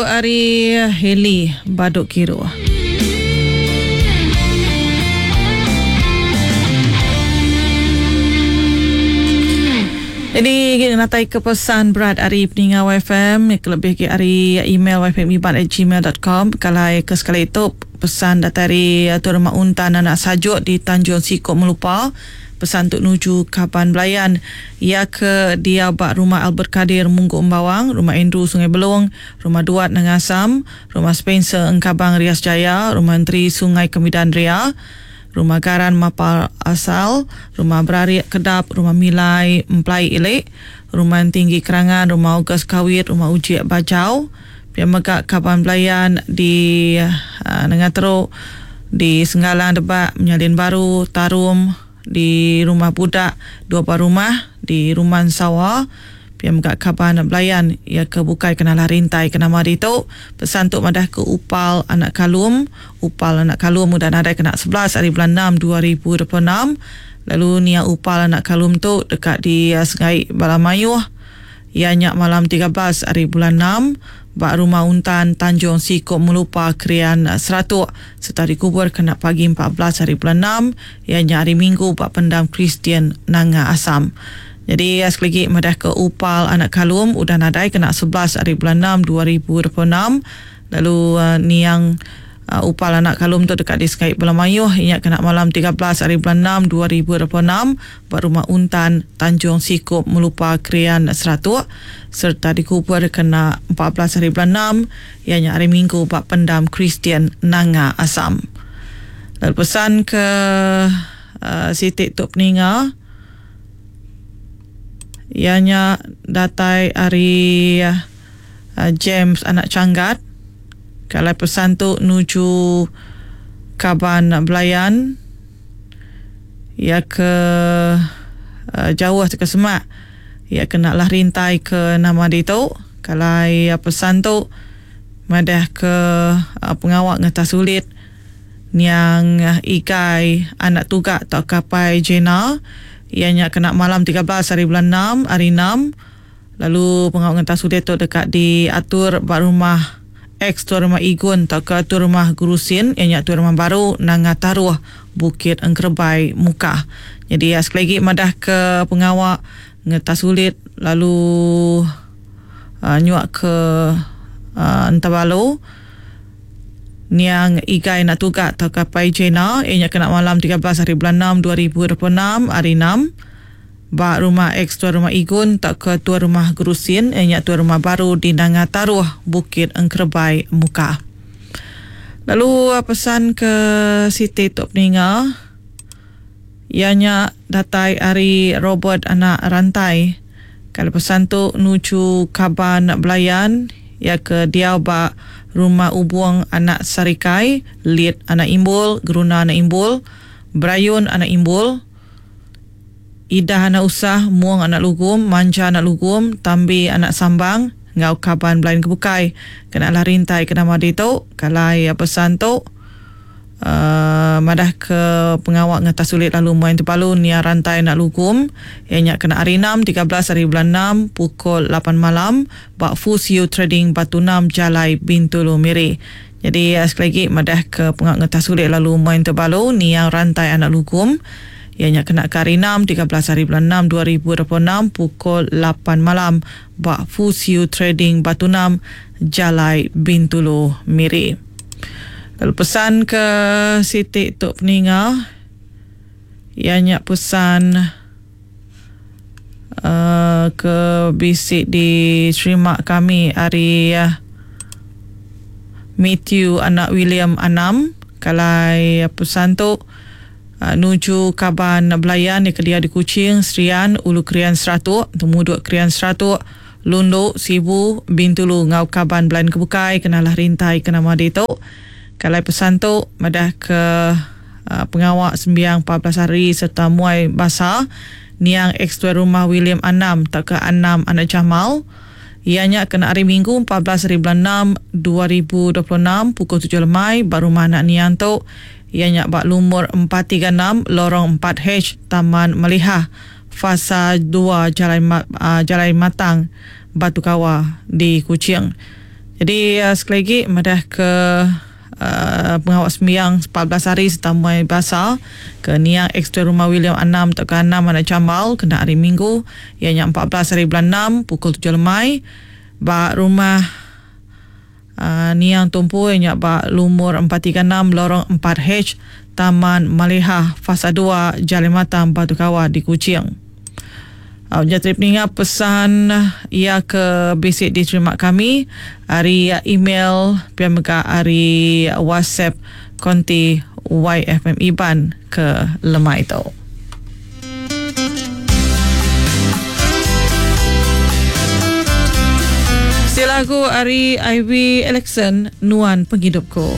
Ari Hailey Badu Kiruh. Jadi natai ke pesan berat ari peninga YFM kelebih agi ari email yfmiban@gmail.com kalai ke sekali tu pesan datai ari Tuan Rumah Untan anak Sajuk di Tanjung Sikup Melupa. Pesan tu nuju kaban belayan iya ke diau ba Rumah Albert Kadir Munggu Embawang, Rumah Andrew Sungai Belong, Rumah Duat Nanga Assam, Rumah Spencer Engkabang Rias Jaya, Rumah Enteri Sungai Kemidan Ria, Rumah Garan Mapar Asal, Rumah Berarik Kedap, Rumah Milai Emplai Ilik, Rumah Entinggi Kerangan, Rumah August Kawit, Rumah Ujik Bajau. Pia mega kaban belayan di Nengah Teruk, di Senggalang Debak, Menyalin Baru, Tarum, di Rumah Budak, dua buah rumah di Rumah Ensawa. Pia mega kaban belayan iya ke bukai ke nalah rintai ke nama ditu. Pesan tu madah ke Upal anak Kalum. Upal anak Kalum udah nadai kena 11 ari bulan 6 2026. Lalu nia Upal anak Kalum tu deka disengai bala mayuh. Iya nya malam 13 ari bulan 6 ba Rumah Untan, Tanjung Sikup Melupa, Krian, Seratok sereta dikubur kena pagi 14 ari bulan 6 iya nya hari Minggu ba Pendam Kristian Nanga Assam. Nyadi sekali agi madahka Upal anak Kalum udah nadai kena 11 ari bulan 6 2026 lalu niang Upal anak Kalum tu deka disekai bala mayuh iya nya kena malam 13 ari bulan 6 2026 ba Rumah Untan, Tanjung Sikup, Melupa, Krian, Seratok sereta dikubur kena 14 hari bulan 6 iya nya hari Minggu ba Pendam Kristian Nanga Assam. Lalu pesan ke siti tu peninga iya nya datai ari James anak Changgat. Ke alai pesan tu nuju kaban belayan iya ke jauh tauka semak iya ke enda lah rintai ke nama ditu. Ke alai pesan tu madah ke pengawa ngetas ulit niang Igai anak Tuga tauka Apai Jena iya nya kena malam 13 hari bulan 6 hari 6. Lalu pengawa ngentas ulit tu deka diatur ba rumah ex Tuan Rumah Igun tauka Tuan Rumah Gurusin iya nya Tuan Rumah Baru Nanga Taruh Bukit Engkerebai Mukah. Nyadi iya sekali agi madah ke pengawa ngetas ulit lalu nyuak ke Entabalu niang Igai Anak Tuga tauka Pai Jena iya nya kena malam 13 hari bulan 6 2026 hari 6. Ba rumah ex Tuan Rumah Igun tauka Tuan Rumah Gerusin iya nya Tuan Rumah Baru di Nanga Taruh, Bukit Engkerebai, Mukah. Lalu pesan ke siti tu peninga iya nya datai ari Robert anak Rantai. Kala pesan tu nuju kaban belayan iya ke diau ba Rumah Ubung anak Sarikai, Lit anak Imbul, Geruna anak Imbul, Berayun anak Imbul, Idah anak Usah, Mung anak Lugum, Manja anak Lugum, Tambi anak Sambang enggau kaban belayan ke bukai. Kena alah rintai ke nama ditu, kalai pesan tu uhh madah ke pengawa ngetas ulit lalu muai tebalu nia rantai anak Lugum iya nya kena hari 6, 13 hari bulan 6 pukul 8 malam ba Fusiu Trading Batu 6 Jalai Bintulu Miri. Nyadi sekali agi madah ke pengawa ngetas ulit lalu muai tebalu nia rantai anak Lugum Iya nya kena ke hari 6, 13 hari bulan 6 2026 pukul 8 malam ba Fusiu Trading Batu 6, Jalai Bintulu, Miri. Lalu pesan ke siti tu peninga iya nya pesan uhh ke bisi diterima kami ari Mathew anak William Anam kalai pesan tu. Nuju kaban belayan iya ke diau di Kuching, Serian, Ulu Krian Seratok, Temudok Krian Seratok, Lundu, Sibu, Bintulu enggau kaban belayan ke bukai ke nalah rintai ke nama ditu. Ke alai pesan tu madah ke pengawa sembiang 14 hari sereta muai basa niang ex-tuai rumah William Anam tauka Anam anak Jamal iya nya kena hari Minggu 14 hari bulan 6 2026 pukul 7 lemai ba rumah anak niang tu. Iya nya ba lumur 436 Lorong 4H Taman Melihah, Fasa 2 Jalai Jalai Matang, Batu Kawa di Kuching. Jadi sekali agi madah ke pengawa sembiang 14 hari sereta muai basa ke niang ex-tuai rumah William Anam tauka Anam anak Jambal kena hari Minggu iya nya 14 hari bulan enam pukul tujuh lemai ba rumah niang tumpu iya nya ba lumur 436 Lorong 4H Taman Malihah Fasa dua Jalai Matang Batu Kawa di Kuching. Au nya tadi peninga pesan iya ke bisi diterima kami ari email pia mega ari WhatsApp konti YFM Iban ke lemai tu. Siti lagu ari Ivy Alexson Nuan Pengidupku.